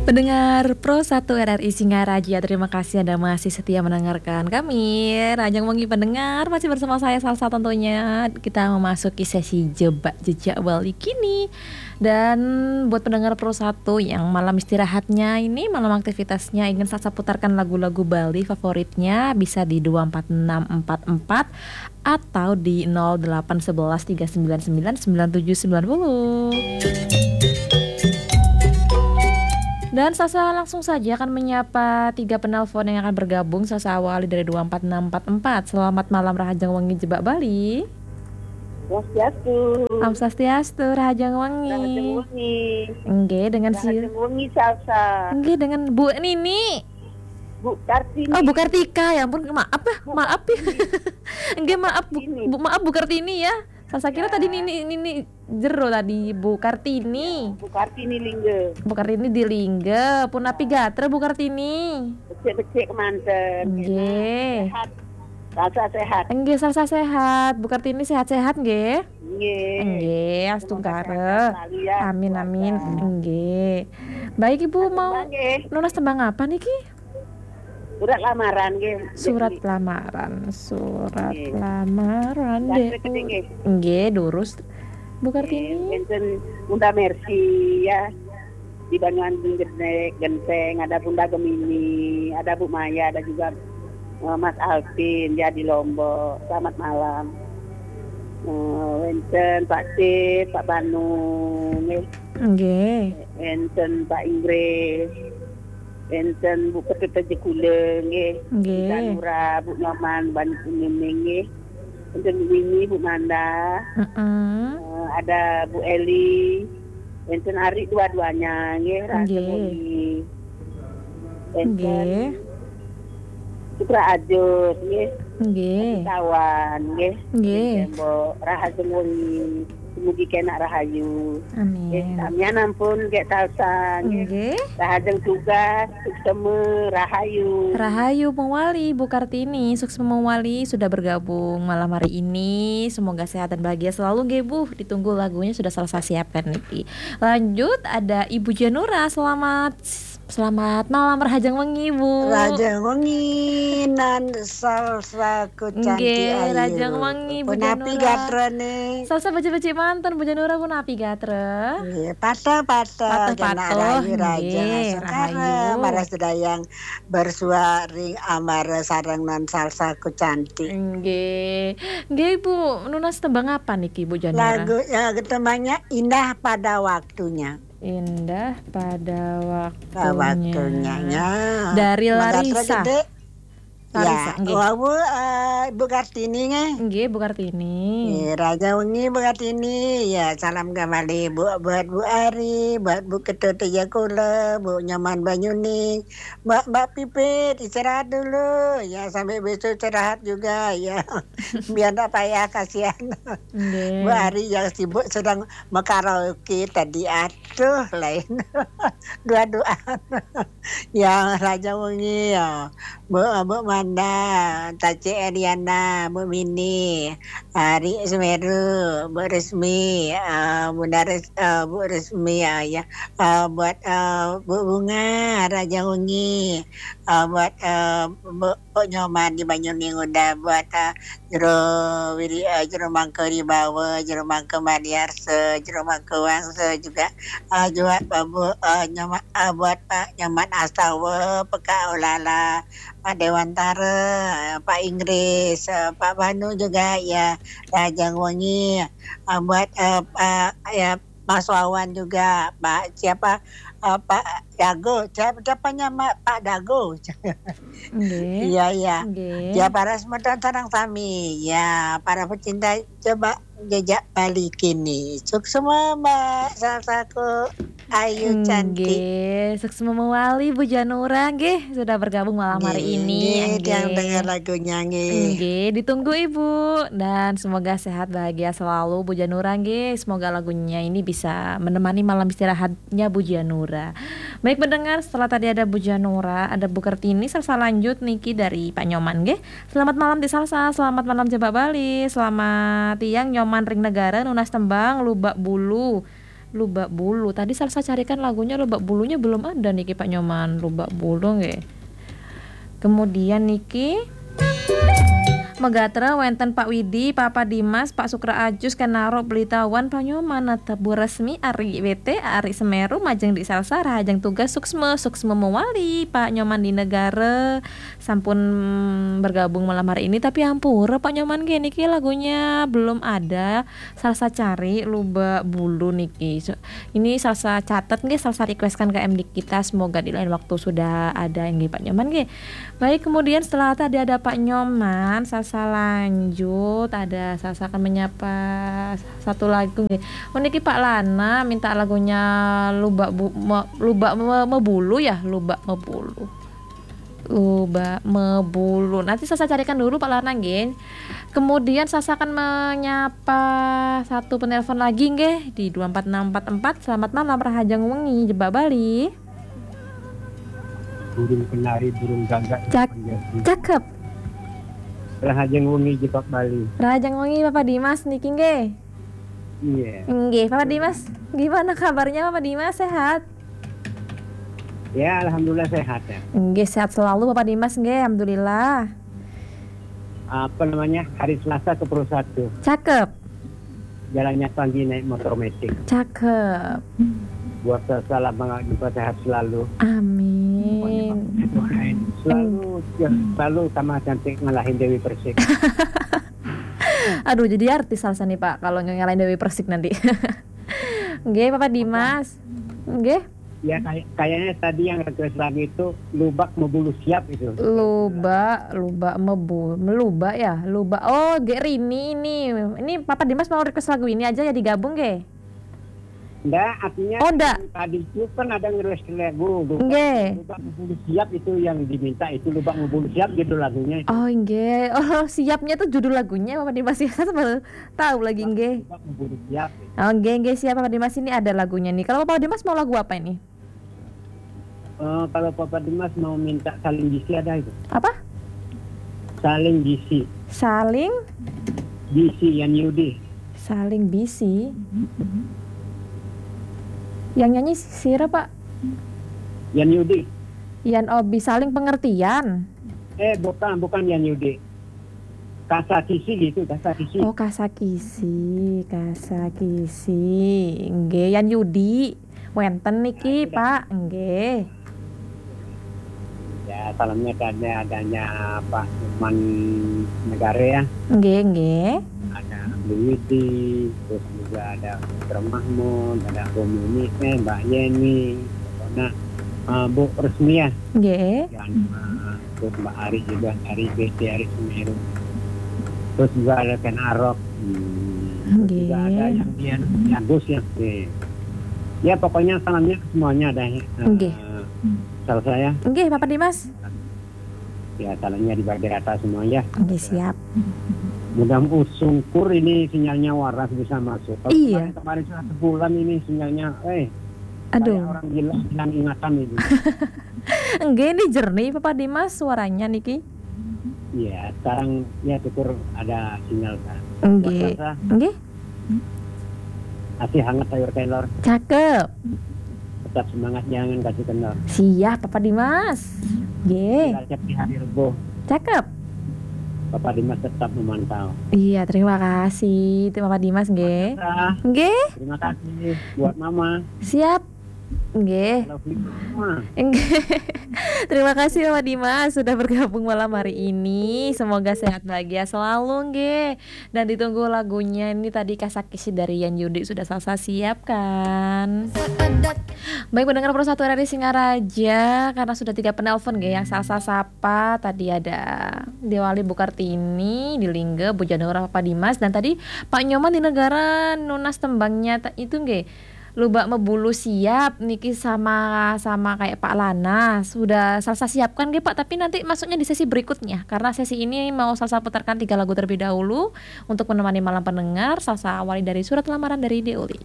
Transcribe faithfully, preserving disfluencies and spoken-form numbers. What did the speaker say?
Pendengar Pro satu R R I Singaraja, terima kasih Anda masih setia mendengarkan kami. Rahajeng wengi pendengar, masih bersama saya Salsa tentunya. Kita memasuki sesi Jebak Jejak Bali kini. Dan buat pendengar Pro satu yang malam istirahatnya ini, malam aktivitasnya ingin Salsa putarkan lagu-lagu Bali favoritnya, bisa di dua empat enam empat empat atau di nol delapan sebelas tiga sembilan sembilan sembilan tujuh sembilan puluh. Dan Salsa langsung saja akan menyapa tiga penelpon yang akan bergabung. Salsa awali dari dua empat enam empat empat. Selamat malam, Rahajeng Wengi Jebak Bali. Swastiastu. Om Swastiastu, Rahajeng Wengi. Rahajeng Wengi. Nggih, dengan si Rahajeng Wengi, Salsa. Nggih, dengan Bu Nini. Bu Kartini. Oh, Bu Kartika, ya ampun, maaf ya, Bu maaf ya. Kartini. Nggih, maaf Bu, Kartini. Bu, maaf Bu Kartini ya. Salsa kira Ya. tadi Nini, Nini jero tadi, Bu Kartini. Ya, Bu Kartini Lingga. Bu Kartini di Lingga, punapi gatra Bu Kartini? Becik-becik kemanten. Nggih. Sehat. Salsa sehat. Nggih, Salsa sehat. Bu Kartini sehat-sehat nggih? Nggih. Nggih, semoga astungkara. Sehat-sehat selalu ya, Amin, keluarga. Amin. Nggih. Baik, Ibu, mau tembang nggih. Nunas tembang apa niki? Surat lamaran nggih. Surat Jadi lamaran, surat Nggih. lamaran, Nggih, Dek. Nggih, durus. Bu Kartini. Nggih, wenten Bunda Mercy ya. Di Banyuwangi Gede-, Genteng, ada Bunda Gemini, ada Bu Maya, ada juga, eh, Mas Alvin ya di Lombok. Selamat malam. Eh, wenten Pak Tip, Pak Banu, nggih. Nggih. Wenten Pak Inggris. Wenten Bu Ketut Jekule, nggih. Nggih. Bu Danura, Bu Nyoman, Bani Kuning, nggih. Wenten Bu Mimi, Bu Manda. Heeh. Eh, ada Bu Eli. Wenten Ari dua-duanya, nggih, Rahajeng Nggih. Wengi. Wenten Nggih. Sukra Ajus, nggih. Nggih. Kawan, nggih. Nggih. Wenten Mbok Rahajeng Wengi. Semugi kenak rahayu. Amin. Nggih, samian ampun, nggih, Salsa, nggih. Nggih. Rahajeng tugas, suksma, rahayu. Rahayu mawali, Bu Kartini, suksma mawali sudah bergabung malam hari ini. Semoga sehat dan bahagia selalu, nggih, Bu. Ditunggu lagunya sudah Salsa siapkan niki. Lanjut, ada Ibu Janura. Selamat, selamat malam, Rahajeng Wengi, Bu. Rahajeng Wengi, Nan Salsaku cantik Nggih, ayu. Rahajeng Wengi, Bu Punapi Janura. Gatrane? Salsa becik-becik manten, Bu Janura, punapi gatra? Nggih, patuh-patuh, Patuh-patuh, kenak rahayu, Rahajeng nggih, Askara, rahayu. Marang sedaya bersuaring amara sareng Nan Salsaku cantik. Nggih. Nggih, Bu, nunas tembang apa niki, Bu Janura? Lagu, ya, tembangnya Indah Pada Waktunya. Indah Pada Pada Waktunya. Waktunya, ya. Dari Mangga Larissa. Terus, Dek. Larissa, Ya, nggih. Wau, eh, Bu Kartini, nggih. Nggih, Bu Kartini. Nggih, Rahajeng Wengi, Bu Kartini. Ya, salam kembali, Bu, buat Bu Ari, buat Bu Ketut Jekule, Bu Nyoman Banyuning, Mbak, Mbak Pipit, istirahat dulu. Ya, sampai besok istirahat juga, ya. Biar ndak payah, kasihan. Nggih. Bu Ari yang sibuk sedang mekaraoke tadi. Aduh, lain. Dua-duaan. Ya, Rahajeng Wengi, ya. Bu, Bu Manda, Taci Eriana, Bu Mini, Ari Semeru, Bu Resmi, eh, Bunda Res-, eh, Bu Resmi, ya, ya. Eh, buat, eh, Bu Bunga, Rahajeng Wengi. Eh, buat, eh, Bu, Bu Nyoman di Banyuning udah, buat, eh, Jero Wiri, eh, Jero Mangku Ribawa, Jero Mangku Madiarsa, Jero Mangku Wangsa juga, eh, juga, eh, Bu, eh, Nyoma-, eh, buat Pak Nyoman Astawa, Peka Olala, Pak Dewantara, eh, Pak Inggris, eh, Pak Banu juga, ya, Rahajeng Wengi, eh, buat, eh, Pak, ya, Mas Wawan juga, Pak siapa, eh, Pak Dago, siapa, siapa nama Pak Dago? Nggih. Iya, iya. Nggih. Ya, para semeton sareng sami. Ya, para pecinta Jebak Jejak Bali kini. Suksma, Mbak Salsaku ayu cantik. Nggih, suksma mawali Bu Janura nggih sudah bergabung malam hari Nggih, ini. Nggih, yang dengar lagunya nggih. Nggih, ditunggu Ibu dan semoga sehat bahagia selalu Bu Janura nggih. Semoga lagunya ini bisa menemani malam istirahatnya Bu Janura. Baik pendengar, setelah tadi ada Bu Janura, ada Bu Kartini, Salsa lanjut niki dari Pak Nyoman nggih. Selamat malam Dik Salsa, selamat malam Jebak Bali, selamat tiang Nyoman ring Negara, nunas tembang Lubak Bulu. Lubak Bulu. Tadi Salsa carikan lagunya Lubak Bulunya belum ada niki Pak Nyoman. Lubak Bulu nggih. Kemudian niki megatra wenten Pak Widi, Papa Dimas, Pak Sukra Ajus, Kenaro, Pelitahuan, Pak Nyoman, Nata Bu Resmi, Ari W T, Ari Semeru, Majeng di Salsa, Rahajeng Tugas, Suksma, Suksma Mewali, Pak Nyoman di Negara, sampun bergabung malam hari ini, tapi ampura Pak Nyoman nggih niki lagunya belum ada. Salsa cari Lubak Bulu niki. So, ini Salsa catat nggih, Salsa requestkan ke M D kita, semoga di lain waktu sudah ada nggih Pak Nyoman nggih. Baik, kemudian setelah tadi ada Pak Nyoman, Salsa lanjut, ada Salsa akan menyapa satu lagu nggih. Oh niki Pak Lana minta lagunya Lubak Bu, Me- Lubak Me- Mebulu ya, Lubak Mebulu. Lubak Mebulu. Nanti Salsa carikan dulu Pak Lana nggih. Kemudian Salsa akan menyapa satu penelpon lagi nggih di dua empat enam empat empat. Selamat malam Rahajeng Wengi Jebak Bali. Burung penari, burung gagak. Cak- cakep. Rahajeng Wengi Jebak Bali. Rahajeng Wengi Bapak Dimas niki nggih. Iya. Nggih, Bapak Dimas. Gimana kabarnya Bapak Dimas, sehat? Ya, alhamdulillah sehat ya. Nggih, sehat selalu Bapak Dimas nggih, alhamdulillah. Apa namanya? Hari Selasa ke Purwosatu. Cakep. Jalannya pagi naik motor metik. Cakep. Buat Salsa lama nggak jumpa, sehat selalu. Amin. Pokoknya Pak, doain selalu, ya, selalu sama cantik ngalahin Dewi Persik. Aduh, jadi artis Salsa nih Pak kalau ngalahin Dewi Persik nanti. Nggih, Bapak Dimas. Nggih. Ya kayak kayaknya tadi yang request lagu itu Lubak Mebulu Siap itu. Lubak, Lubak Mebu, Melubak ya, Lubak. Oh, Gek Rini ini. Ini Papa Dimas mau request lagu ini aja ya digabung nggih. Enggak, artinya Oh, enggak. Yang tadi itu kan ada nge-request lagu Lubak, Nggih. Lubak Mebulu Siap itu yang diminta itu Lubak Mebulu Siap judul lagunya itu. Oh, nggih. Oh, siapnya itu judul lagunya Papa Dimas ya. Saya baru tahu lagi nggih. Lubak Mebulu Siap. Oh, nggih, nggih, siap Papa Dimas, ini ada lagunya nih. Kalau Papa Dimas mau lagu apa ini? Eh, kalau Papa Dimas mau minta Saling Bisi ada itu. Apa? Saling Bisi. Saling? Bisi Yan Yudi. Saling Bisi. Yang nyanyi sira, Pak? Yan Yudi. Yan Obi, Saling Pengertian. Eh, bukan, bukan Yan Yudi. Kasa Kisi gitu, Kasa Kisi. Oh, Kasa Kisi, Kasa Kisi. Nggih, Yan Yudi. Wenten niki, Pak. Nggih. Ya, salamnya tadi adanya Pak Nyoman Negara ya. Nggih, nggih. Ada Abdul Widi, terus juga ada Putra Mahmud, ada Om Yuni, eh, Mbak Yeni, pokoknya eh, Bu Resmi ya. Nggih. Dan eh, terus Mbak Ari juga dari B T Ari Semeru. Terus juga ada Ken Arok. Hmm, terus Nggih. Juga ada yang dia Agus ya. Oke. Ya pokoknya salamnya semuanya ada. Eh, Nggih. Salah saya. Nggih, Papa Dimas. Ya salamnya dibagi rata semua ya. Nggih, siap. Mudah-mudahan sungkur ini sinyalnya waras bisa masuk. Kalau Iya. Kemarin, kemarin sudah sebulan ini sinyalnya, eh, Aduh. Kayak orang gila hilang ingatan ini. Nggih, ini jernih Papa Dimas suaranya niki. Iya, sekarang ya syukur ada sinyal kan. Nggih. Nggih. Masih hangat sayur kelor. Cakep. Tetap semangat, jangan kasih kendor. Siap, Papa Dimas. Nggih. Cilacap di hari Rebo. Cakep. Papa Dimas tetap memantau. Iya, terima kasih. Itu Papa Dimas nggih. Nggih. Terima kasih buat Mama. Siap. Nggih. Nggih. Terima kasih Mama Dimas sudah bergabung malam hari ini. Semoga sehat bahagia selalu nggih. Dan ditunggu lagunya ini tadi Kasa Kisi dari Yan Yudi sudah Salsa siapkan. Baik pendengar Pro satu R R I Singaraja, karena sudah tiga penelpon nggih yang Salsa sapa tadi ada Dewali Bukartini di Lingga, Bu Janura Papa Dimas dan tadi Pak Nyoman di Negara nunas tembangnya itu nggih. Lubak Mebulu siap niki sama sama kayak Pak Lana. Sudah Salsa siapkan nggih Pak, tapi nanti masuknya di sesi berikutnya karena sesi ini mau Salsa putarkan tiga lagu terlebih dahulu untuk menemani malam pendengar. Salsa awali dari Surat Lamaran dari Deoli.